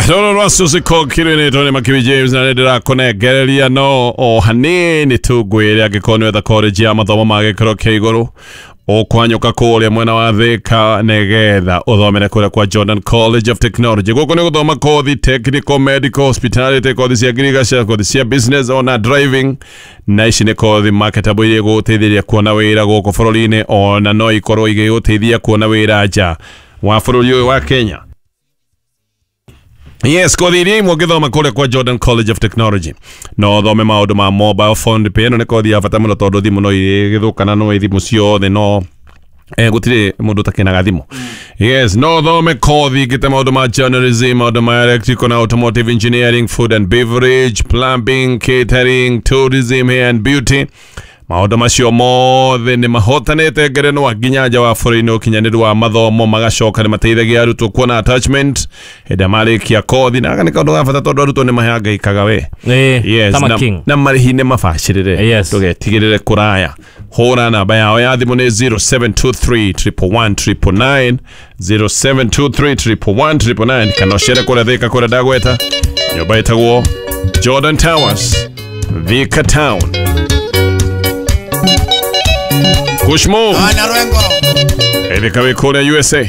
Aya, rũrũ rwa Suzy Kokirĩnĩtwo nĩ Makiwi James na nĩ ndĩrakũnengereria no o hanini tu ngwĩre angĩkorwo nĩ wetha college ya mathomo ma gĩkĩro kĩa igũrũ ũkwanyũka kũrĩa mwena wa Thika nĩgetha ũthomere kũrĩa kwa Jordan College of Technology. Gũkũ nĩ gũthoma kothi technical, medical, hospitality, kothi cia ngirigaca, kothi cia business ona driving, na ici nĩ kothi marketable iria igũgũteithĩrĩria kuona wĩra gũkũ bũrũri-inĩ, ona no ikorwo igĩgũteithia kuona wĩra nja wa bũrũri ũyũ wa Kenya. Yes, kothi iria imwe ũngĩthoma kũrĩa kwa Jordan College of Technology no ũthome maũndũ ma mobile phone repair. Ĩno nĩ kothi ya bata mũno tondũ thimũ no igĩthũkana, no thimũ ciothe no gũtirĩ mũndũ ũtakenaga thimũ. Yes, no ũthome kothi ingĩ ta maũndũ ma journalism, maũndũ ma electrical na automotive engineering, food and beverage, plumbing, catering, tourism, hair and beauty. Maũndũ macio mothe nĩ mahotanĩte ngerenwa nginya nja wa bũrũri-inĩ ũkinyanĩru wa mathomo, magacoka nĩ mateithagia arutwo kuona attachment hĩndĩ ĩrĩa marĩkia kothi, na gaka nĩ kaũndũ ga bata tondũ arutwo nĩ mahangaikaga we. Yes, Tama na, King. na marĩhi nĩ mabacĩrĩre. Ndũgetigĩrĩre kũraya, hũra namba yao ya thimũ nĩ 0723 111 999, 0723 111 999, kana ũcere kũrĩa Thika kũrĩa ndagweta nyũmba ĩtagwo Jordan Towers, Thika Town. Kushmo Ana Rwengo. ĩthika wĩ kũrĩa USA.